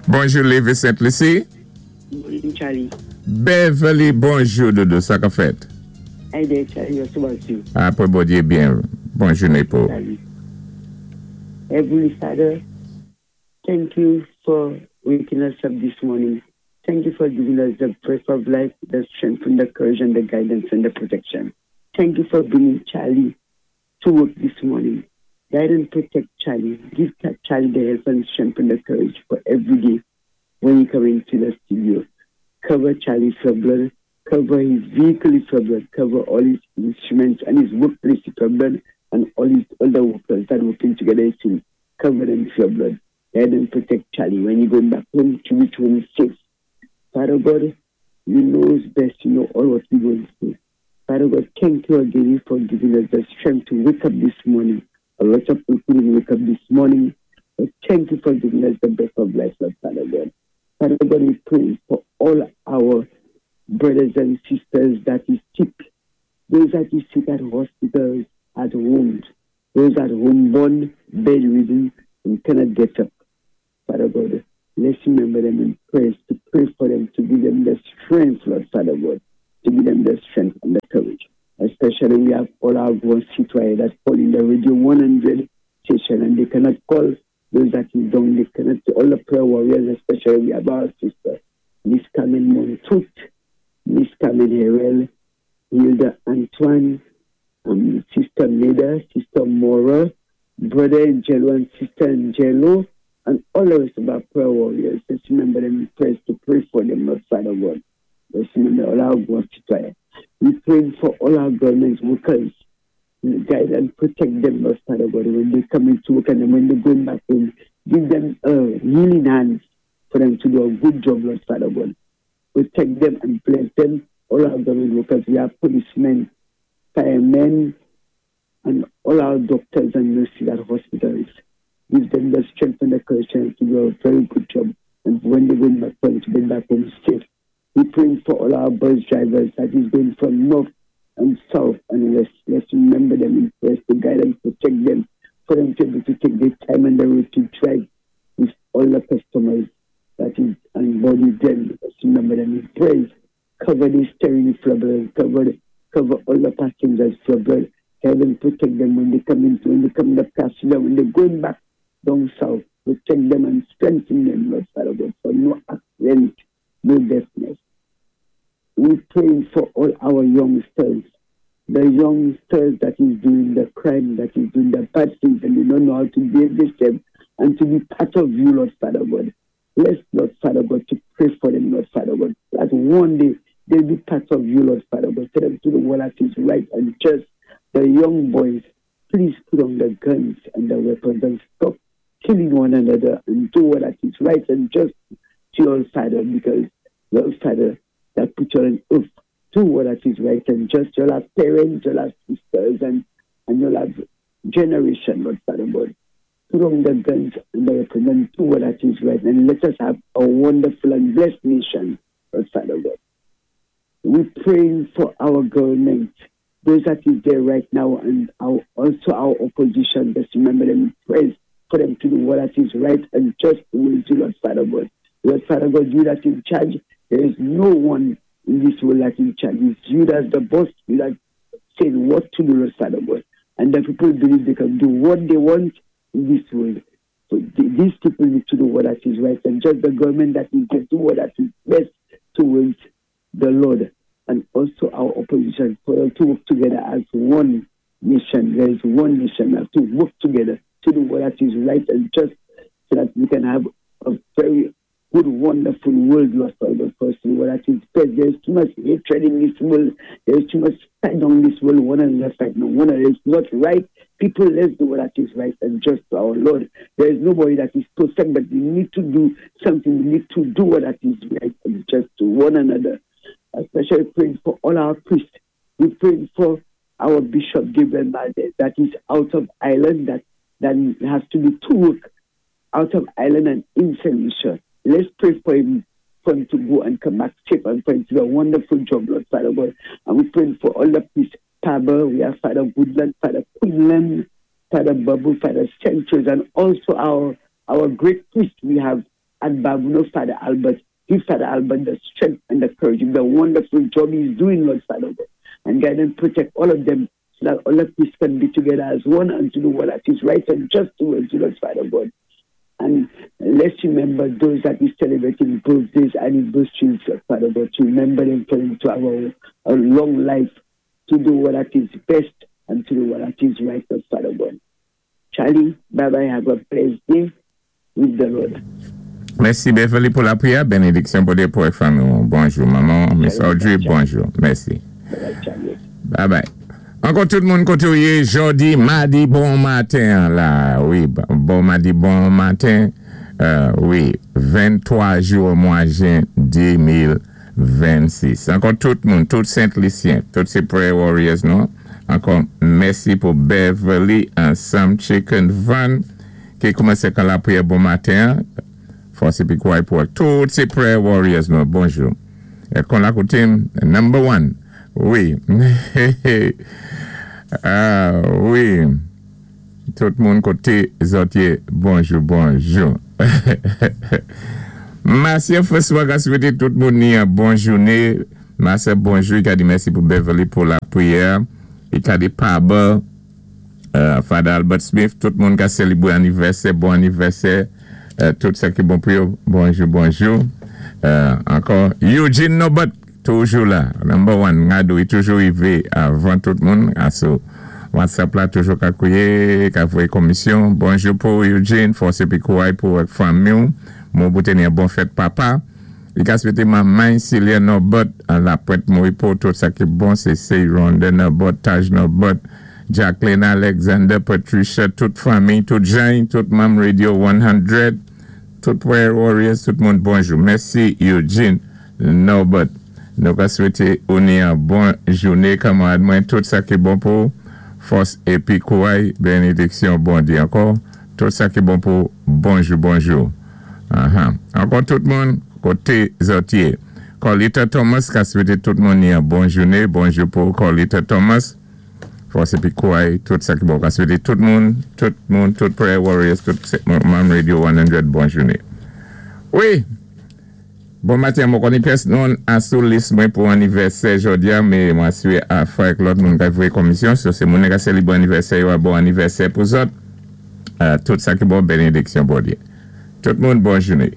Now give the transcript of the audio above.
Bonjou, Lévis Sainte Lucie. Morning, Charlie. Beverly, bonjou, doudou, sa k ap fèt? Hi there, Charlie. What's about you? Apwé Bondyé byen. Bon jounen pou. Charlie. Heavenly Father, thank you for waking us up this morning. Thank you for giving us the breath of life, the strength and the courage and the guidance and the protection. Thank you for bringing Charlie to work this morning. Guide and protect Charlie. Give Charlie the help and strength and the courage for every day when he come into the studio. Cover Charlie for blood. Cover his vehicle with your blood. Cover all his instruments and his workplace with your blood and all his other workers that working together with him. Cover them with your blood. Guide and protect Charlie when he going back home to reach home safe. Father God, you know best. You know all what we going through. Father God, thank you again for giving us the strength to wake up this morning. A lot of people couldn't wake up this morning. But thank you for giving us the breath of life, Lord Father God. Father God, we pray for all our brothers and sisters that is sick, those that is sick at hospitals, at homes, those at home born, bedridden, and cannot get up. Father God, let's remember them in prayers, to pray for them, to give them the strength, Lord Father God, to give them the strength and the courage. Especially we have all our grown citoyens that call in the Radio 100 station and they cannot call those that is down, they cannot, all the prayer warriors, especially we have our sister, Miss Carmen Montout, Miss Carmen Herel, Hilda Antoine, Sister Neda, Sister Mora, Brother Angelo and Sister Angelo, and all the rest of our prayer warriors. Let's remember them in prayers to pray for them, Lord Father God. Let's remember all our God to We pray for all our government workers. Guide and protect them, Lord Father God, when they come into work and when they're going back home. Give them a healing hands for them to do a good job, Lord Father God. Protect them and bless them. All our government workers, we have policemen, firemen, and all our doctors and nurses at hospitals. Give them the strength and the courage to do a very good job. And when they go back home, to bring back home safe. We pray for all our bus drivers that is going from north and south and west. Let's remember them in prayers to guide and protect them, for them to be able to take their time on the road to drive with all the customers that is on board with them. Let's remember them in prayers. Cover the steering with blood, cover all the passengers with blood. Help them protect them when they come into, when they come the passenger, when they're going back down south. Protect them and strengthen them, Lord Father God, for no accident, no deafness. We pray for all our youngsters, the youngsters that is doing the crime, that is doing the bad things, and they don't know how to behave themselves and to be part of you, Lord Father God. Bless, Lord Father God, to pray for them, Lord Father God, that one day they'll be part of you, Lord Father God. Tell them to the world that is right and just. The young boys, please put on the guns and the weapons and stop killing one another and do what that is right and just to your Father, because your Father that put you on earth, do what that is right and just. You'll have parents, you'll have sisters, and you'll have generation, Lord Father God. Put on the guns and the weapons and do what that is right, and let us have a wonderful and blessed nation, Lord Father God. We're praying for our government, those that is there right now, and also our opposition. Just remember them in prayers for them to do what that is right and just will do, Lord Father God. Lord Father God, you that in charge, there is no one in this world that in charge. It's you that's the boss, you that saying what to do, Lord Father God. And the people believe they can do what they want in this world. So these people need to do what that is right, and just the government that is to do what that is best towards the Lord, and also our opposition, for us to work together as one nation. There is one nation. We have to work together to do what that is right and just, so that we can have a very good, wonderful world, Lord Father God, for us to do what that is best. There is too much hatred in this world. There is too much fight on this world. One another fight. No one another is not right. People, let's do what that is right and just to our Lord. There is nobody that is perfect, but we need to do something. We need to do what that is right and just to one another. Especially praying for all our priests. We pray for our Bishop Gabriel Valdez that is out of Ireland, that has to do two work out of Ireland and in Saint Lucia. Let's pray for him to go and come back safe and for him to do a wonderful job, Lord Father God. And we pray for all the priests. Father, we have Father Goodland, Father Quinlan, Father Babu, Father Sanchez, and also our great priest. We have At Babonneau, Father Albert. Give Father Albert the strength and the courage, the wonderful job he's doing, Lord Father God. And guide and protect all of them so that all of us can be together as one and to do what is right and just towards you, Lord Father God. And let's remember those that is celebrating birthdays, anniversaries, Father God, to remember them for them to have a long life, to do what is best and to do what is right, Lord Father God. Charlie, bye bye, have a blessed day with the Lord. Mèsi Beverly pou lapriyè. Benediksyon pou pou fanmi. Bonjou manman, Miss Audrey, bonjou. Mèsi. Bye bye, Charlie. Bye bye. Ankò tout moun koté jodi, madi, bon maten la. Wi, bon madi, bon maten. Wi, 23 jou mwa jen 2026. Ankò tout moun, tout Sent Lisyen, tout sé prayer warriors, non? Ankò mèsi pou Beverly ansanm Chicken Van ki koumansé kan lapriyè bon maten. Fòs épi kouray pou tout sé prayer warriors, non? Bonjou. É kon la koutim, number one. Wi. Ah, wi. Tout moun koté zòt yé, bonjou, bonjou. Marcia François ka swété tout moun ni yon bon jouné. Marcia, bonjou. I ka di mèsi pou Beverly pou lapriyè. I ka di Pablo, Father Albert Smith, tout moun ka sélébwé anivèsè, bon anivèsè. Tout sa ki bon pou yo. Bonjou, bonjou. Ankò, Eugene Nobot, toujou la. Number one, Ngado, i toujou rivé avan tout moun. Asou WhatsApp la, toujou ka kouwé, ka voyé komisyon. Bonjou pou Eugene, fòs épi kouray pou ak fanmi. Mwen pou teni bon fèt papa. I ka swété manman Celia Nobot, la Pwent Moripo, tout sa ki bon, sé Rhonda Nobot, Taj Nobot, Jacqueline Alexander, Patricia, tout fanmi, tout Jean, tout manm Radio 100, tout Prayer Warriors, tout moun, bonjou. Mèsi Eugene Nobot. Nou ka swété ou ni yon bon jouné, kanmarad mwen, tout sa ki bon pou fòs épi kouray, benediksyon Bondyé ankò, tout sa ki bon pou bonjou, bonjou. Ankò tout moun, koté zòt yé. Corlita Thomas ka swété tout moun ni yon bon jouné, bonjou pou Corlita Thomas. Fòs épi kouray, tout sa ki bon. Ka swété tout moun, tout Prayer Warriors, tout manm Radio 100, bon jouné. Wi, bon maten, mwen konnen pyès non asou lis mwen pou anivèsè jodi a, mé mwen asiré a fwa ak lòt moun ka voyé komisyon, so sé moun ka sélébwé anivèsè yo a bon anivèsè pou zòt. Tout sa ki bon, benediksyon Bondyé. Tout moun, bon jouné.